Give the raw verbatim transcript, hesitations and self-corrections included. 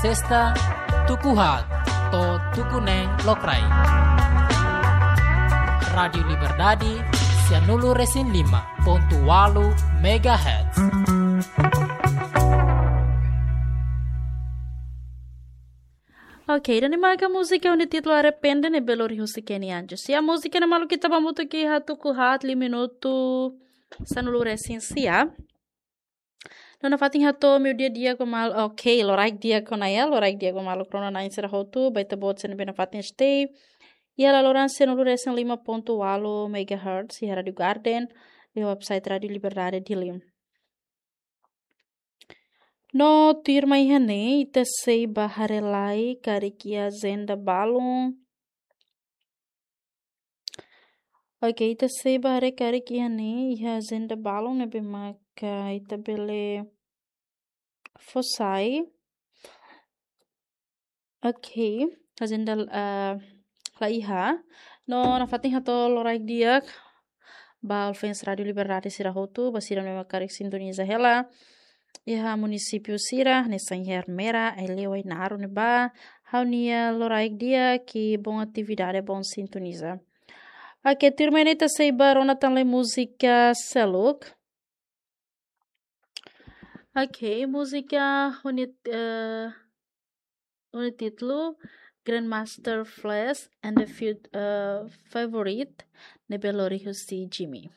Sesta, tuku haat to'o tuku neen lokraik. Rádiu Liberdade, sianulu-resin-lima pontu ualu megahertz. Ok, ida-ne'e maka múzika ho títulu Arrepende ne'ebé lori husi Kenny Anjos. Ya, múzika ne'e maluk ita hamutuk iha tuku haat liu minutu sanulu-resin-sia. No nafatin hato'o meiudia di'ak ba malu, ok, loraik di'ak ona ya, loraik di'ak ba maluk rona-na'in sira hotu, ba ita-boot sira ne'ebé nafatin stay iha laloran sianulu-resin-lima pontu ualu megahertz iha Rádiu Garden, iha website Rádiu Liberdade Dili. No tuirmai iha ne'e, ita sei bá haree lai karik iha ajenda balun. Ok, ita sei bá haree karik iha ne'e, iha ajenda balun ne'ebé maka ita bele fó sai. Ok, ajenda, eh, la iha. No nafatin hato'o loraik di'ak ba fans Rádiu Liberdade sira hotu, ba sira ne'ebé maka karik sintoniza hela iha munisípiu sira, hanesan iha Ermera, Aileu, Ainaro ne'ebá. Ha'u-nia loraik di'ak i bom atividade, bom sintoniza. Ok, tuirmai ne'e ita sei bá rona tan lai múzika seluk. Ok, múzika ho nia, eh, ho nia títulu Grandmaster Flash and the Few, eh, Favorite ne'ebé lori husi Jimmy.